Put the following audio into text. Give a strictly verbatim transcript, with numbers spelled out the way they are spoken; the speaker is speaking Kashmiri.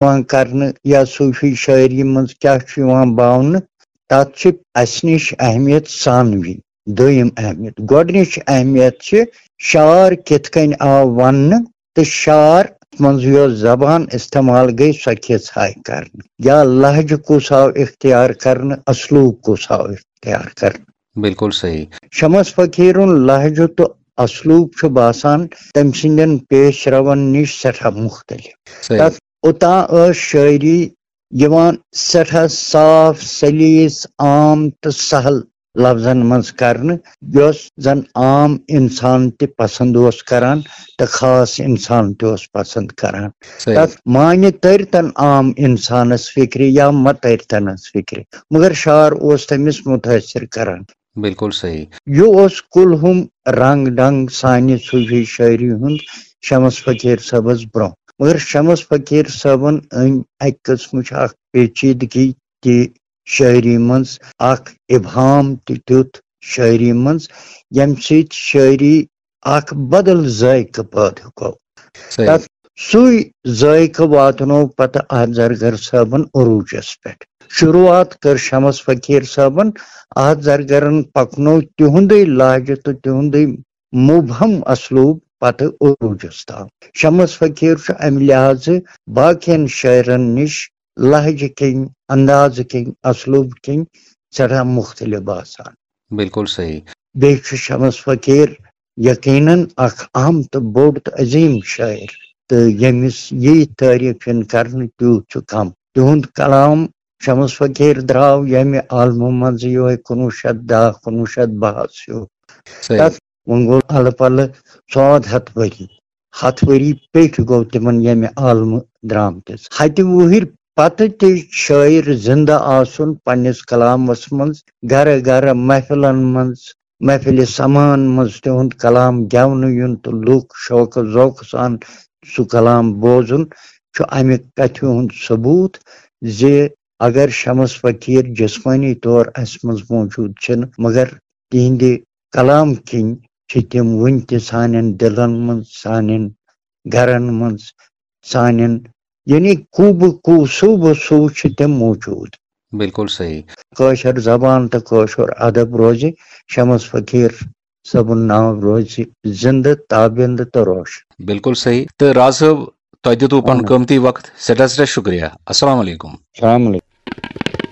یِوان کرنہٕ یا صوٗفی شٲعری منٛز کیٛاہ چھُ یِوان باونہٕ، تَتھ چھِ اَسہِ نِش اہمیت ثانوی، دوٚیِم اہمیت۔ گۄڈٕنِچ اہمیت چھِ شعر کِتھ کٔنۍ آو وننہٕ، تہٕ شعر منٛز یۄس زبان استعمال گٔے، سۄ کِژھ آیہِ کرنہٕ، یا لہجہٕ کُس آو اختیار کرنہٕ، اسلوب کُس آو اختیار کرنہٕ۔ بِلکُل صحیح۔ شمس فقیرُن لہجہٕ تہٕ اسلوب چھُ باسان تٔمۍ سٕنٛدٮ۪ن پیش رون نِش سٮ۪ٹھاہ مُختٔلِف۔ صحیح۔ تَتھ اوٚتام ٲس شٲعری یِوان سٮ۪ٹھاہ صاف، سلیس، عام تہٕ سہل لفظن منٛز کرنہٕ، یۄس زن عام انسان تہِ پسند اوس کران تہٕ خاص انسان تہِ اوس پسند کران۔ صحیح۔ تتھ معنی تٔرۍ تن عام انسانس فکرِ یا مہ تٔرۍ تنس فکرِ، مگر شعر اوس تٔمِس متٲثر کران۔ بِلکُل صحیح۔ یہِ اوس کُلہُم رنگ ڈنگ سانہِ صوٗفی شٲعری ہُنٛد شمس فقیٖر صٲبس برونٛہہ۔ مگر شمس فقیٖر صٲبن أنۍ اَکہِ قٕسمٕچ اکھ پیچیدگی تہِ شٲعری منٛز، اکھ ابہام تہِ دیُت شٲعری منٛز، ییٚمہِ سۭتۍ شٲعری اکھ بدل ذائقہٕ پٲدٕ گوٚو۔ صحیح۔ تتھ سُے ذائقہٕ واتنوو پتہٕ احد زرگر صٲبن عروٗجس پٮ۪ٹھ۔ شروٗعات کٔر شمس فقیٖر صٲبن، احد زرگرن پکنوو تِہُنٛدُے لہجہٕ تہٕ تِہُنٛدُے مبہم اسلوب پتہٕ عروٗجس تام۔ شمس فقیٖر چھُ امہِ لحاظہٕ باقین شٲعرن نِش لہجہٕ کِنۍ، اندازٕ کِنۍ، اسلوب کِنۍ سٮ۪ٹھاہ مُختٔلِف باسان۔ بِلکُل صحیح۔ بیٚیہِ چھُ شمس فقیٖر یقیناً اکھ اہم تہٕ بوٚڑ تہٕ عظیٖم شٲعر، تہٕ ییٚمِس یی تعریٖف یِن کرنہٕ تیوٗت چھُ کم۔ تِہُنٛد کلام شمس فقیٖر درٛاو ییٚمہِ عالمہٕ منٛزٕ یِہوٚے کُنوُہ شیٚتھ دَہ، کُنوُہ شیٚتھ بَہَس ہیوٗ۔ صحیح۔ تَتھ وۄنۍ گوٚو الہٕ پلہٕ ژۄد ہَتھ ؤری، ہَتھ ؤری پیٚٹھۍ گوٚو تِمن ییٚمہِ عالمہٕ درٛامتِس۔ ہَتہِ وُہٕرۍ پتہٕ تہِ شٲعر زِندٕ آسُن پننِس کلامس منٛز، گرٕ گرٕ محفلن منٛز، محفلِ سماعن منٛز تِہُنٛد کلام گٮ۪ونہٕ یُن تہٕ لُکھ شوقہٕ ذوقہٕ سان سُہ کلام بوزُن چھُ امہِ کتھِ ہُنٛد ثبوٗت زِ اگر شمس فقیٖر جسمٲنی طور اسہِ منٛز موجود چھِنہٕ، مگر تِہنٛدِ کلام کِنۍ چھِ تِم وُنہِ تہِ سانٮ۪ن دِلن منٛز، سانٮ۪ن گرن منٛز، سانٮ۪ن، یعنی کوٗبہٕ کوٗ، صوٗبہٕ صوٗ چھِ تِم موجود۔ بِلکُل صحیح۔ کٲشِر زبان تہٕ کٲشُر ادب روزِ، شمس فقیٖر صٲبُن ناو روزِ زِندٕ، تابِندٕ تہٕ روشن۔ بِلکُل صحیح۔ تہٕ راز صٲب، تۄہہِ دیُتوُ پنُن اہن۔ قۭمتی وقت، سٮ۪ٹھاہ سٮ۪ٹھاہ شُکریہ۔ السلام علیکم۔ السلام علیکم۔